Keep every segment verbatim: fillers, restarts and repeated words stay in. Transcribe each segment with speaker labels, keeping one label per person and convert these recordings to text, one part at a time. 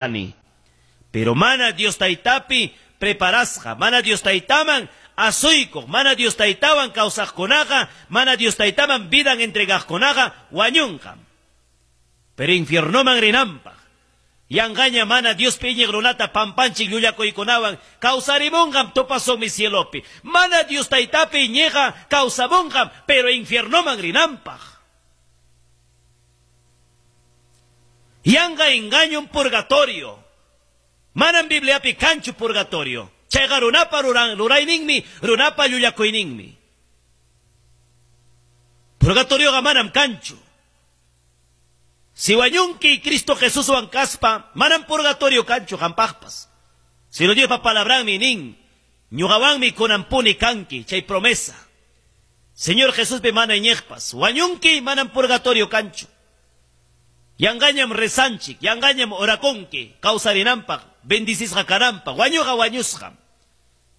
Speaker 1: Kani. Pero mana Dios taytapi preparasqa, mana Dios taytaman asuykuq, mana Dios taytawan kawsaqkunaqa, mana Dios taytaman vidan entregaqkunaqa wañunqam. Pero infiernoman rinanpaq. Yanqaña mana Diospi iñiq runata pampanchik llullakuykunawan kawsarimunqam tupasunmi cielopi. Mana Dios taytapi iñiqa kawsamunqam, pero infiernoman rinanpaq. Yanqa engaño un purgatorio. Manam Bibliapi kanchu purgatorio. Chayqa runapa rurayninmi, runapa llullakuyninmi. Purgatorioqa manam kanchu. Si wañunki Cristo Jesuswan kaspa, manam purgatorio kanchu qampaqpas. Sino Diospa palabranmi nin, ñuqawanmi kunampuni kanki, chay promesa. Señor Jesuspi mana iñiqpas, wañunki manam purgatorio kanchu. Yanqañam rezanchik, yanqañam orakunki, kawsarinanpaq, bendicisqa kananpaq, wañuqa wañusqam.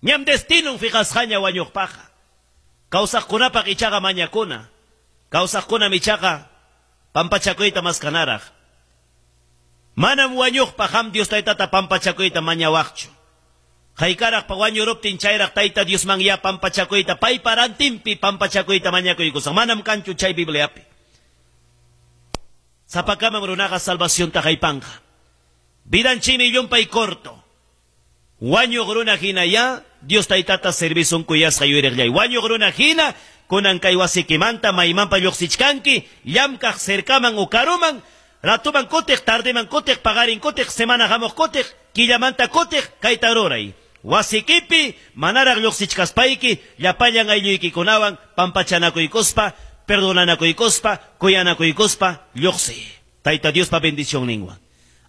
Speaker 1: Ñam destinun fiqasqaña wañuqpaqa. Kawsaqkunapaq ichaqa mañakuna, kawsaqkunam ichaqa pampachakuyta maskanaraq. Manam wañuqpaq ham Dios taytata pampachakuyta mañawaqchu. Haykaraqpa wañuruptin chayraq tayta Diosman ya pampachakuyta, paypa rantinpi pampachakuyta mañakuykusaq. Manam kanchu chay Bibliapi. Sapakamam runaqa salvacionta haypanqa. Vidanchimi llumpay corto. Wañuq runa hina ya Dios taytata servisun kuyasqa yuyariqllay. Wañuq runa hina kunan kay wasikimanta maymanpa lluqsichkanki, llamkaq cercaman o karuman, ratuman kutiq, tardeman kutiq, paqarin kutiq, semana hamuq kutiq, killamanta kutiq, kayta ruray. Wasikipi manaraq lluqsichkaspayki, llapallan aylluykikunawan pampachanakuykuspa, perdonanakuykuspa, kuyanakuykuspa, lluqsi. Tayta Diospa bendicionninwan.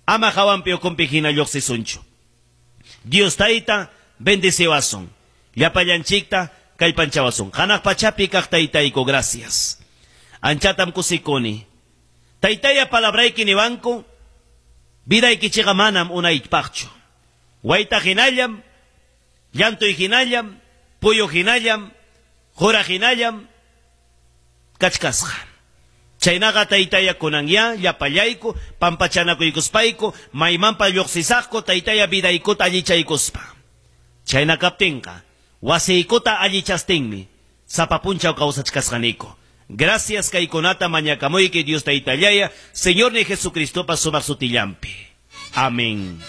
Speaker 1: Ama hawanpi ukunpi hina lluqsisunchu. Dios tayta bendiciwasun. Llapallanchikta kallpanchawasun. Hanaq pachapi kaq taytayku, gracias. Anchatam kusikuni. Taytaya palabrayki niwanku, vidaykichikqa manam unaypaqchu. Wayta hinallam, llantuy hinallam, puyu hinallam, qura hinallam, kachkasqa. Chaynaqa taytaya kunan ya llapallayku, pampachanakuykuspayku, maymanpa lluqsisaqku, taytaya vidaykuta allichaykuspa. Chayna kaptinqa, wasiykuta allichastinmi, sapa punchaw kawsachkasqaniku. Gracias kaykunata mañakamuyki Dios taytallaya, Señor ni Jesucristopa sumaq sutillanpi. Amén.